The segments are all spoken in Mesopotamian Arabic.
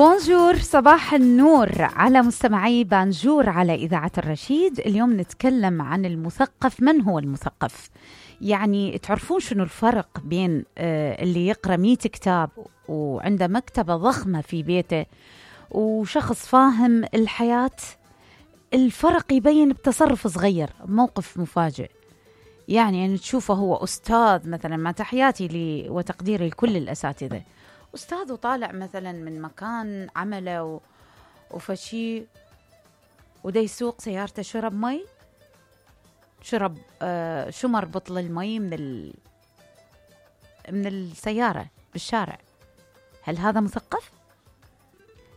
بونجور، صباح النور على مستمعي بانجور على إذاعة الرشيد. اليوم نتكلم عن المثقف. من هو المثقف؟ يعني تعرفون شنو الفرق بين اللي يقرأ 100 كتاب وعنده مكتبة ضخمة في بيته وشخص فاهم الحياة؟ الفرق يبين بتصرف صغير، موقف مفاجئ. يعني تشوفه هو أستاذ مثلا، مع تحياتي لي وتقديري لكل الأساتذة، أستاذ وطالع مثلا من مكان عمله وفشي ودا يسوق سيارته، شرب مي، شرب شمر بطل المي من السيارة بالشارع. هل هذا مثقف؟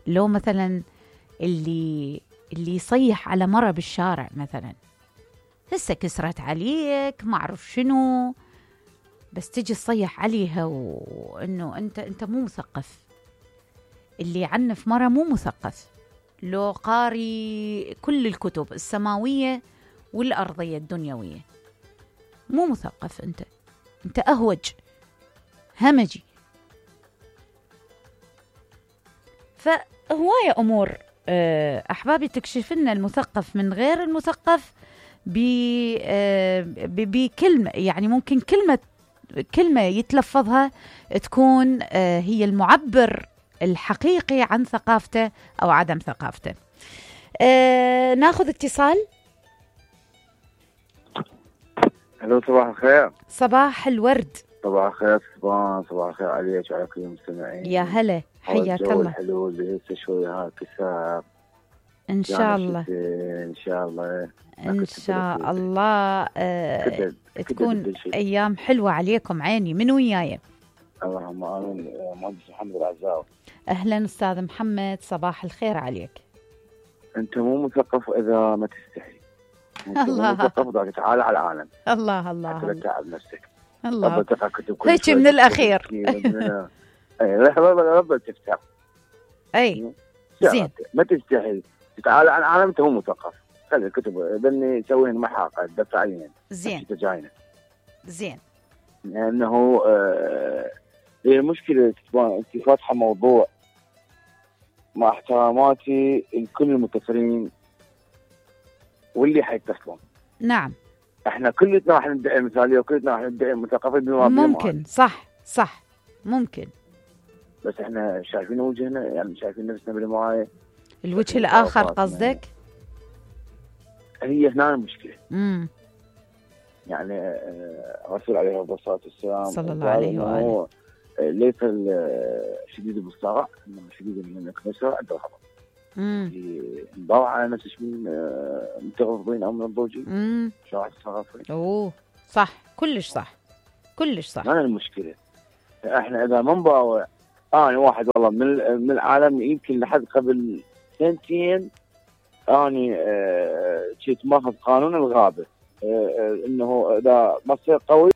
لو مثلا اللي يصيح على مرة بالشارع مثلا، هسه كسرت عليك ما أعرف شنو، بس تجي تصيح عليها وإنه أنت مو مثقف. اللي يعنف مرة مو مثقف. لو قاري كل الكتب السماوية والأرضية الدنيوية، مو مثقف. أنت أهوج، همجي. فهواية أمور أحبابي تكشف لنا المثقف من غير المثقف بكلمة. يعني ممكن كلمة يتلفظها تكون هي المعبر الحقيقي عن ثقافته أو عدم ثقافته. ناخذ اتصال. الو، صباح الخير. صباح الورد. صباح الخير صباح الخير عليك وعلى كل المستمعين. يا هلا، حياك الله. الحلو اللي هسه شوي كسر ان شاء الله، ان شاء الله، ان شاء الله. تكون ايام حلوه عليكم. عيني من وياي. اللهم امين. مهندس محمد العزاوي. اهلا استاذ محمد، صباح الخير عليك. انت مو مثقف اذا ما تستحي. الله. مثقف اذا تعال على العالم. الله الله حتى لا تتعب نفسك. الله. هيك من الاخير. اي رب تفتح. اي زين. ما تستحي تتعال على العالم، انت مو مثقف. خلي الكتب ذني سويهن محاقة دفع عليهن. زين زين. لأنه هي المشكلة أنت فاتحة موضوع، مع احتراماتي لكل المتصلين واللي حيتصلون. نعم. احنا كلنا راح ندعي مثالية وكلنا راح ندعي مثقفين بما ممكن. صح ممكن. بس احنا شايفين وجهنا، يعني شايفين نفسنا بالمراية. الوجه الآخر قصدك؟ هي هنا المشكلة. يعني الرسول عليه الصلاة والسلام صلى الله عليه وآله ليس الشديد بالصرع، انما الشديد من الكسر عند الغضب. نضاع على نفس من متغضبين او من الضوجي. شو راح تتصرفين؟ اوه صح، كلش صح. ما المشكلة. احنا اذا ما نباوع، انا واحد والله من العالم، يمكن لحد قبل سنتين اني كنت ماخذ قانون الغابة، انه اذا ما تصير قوي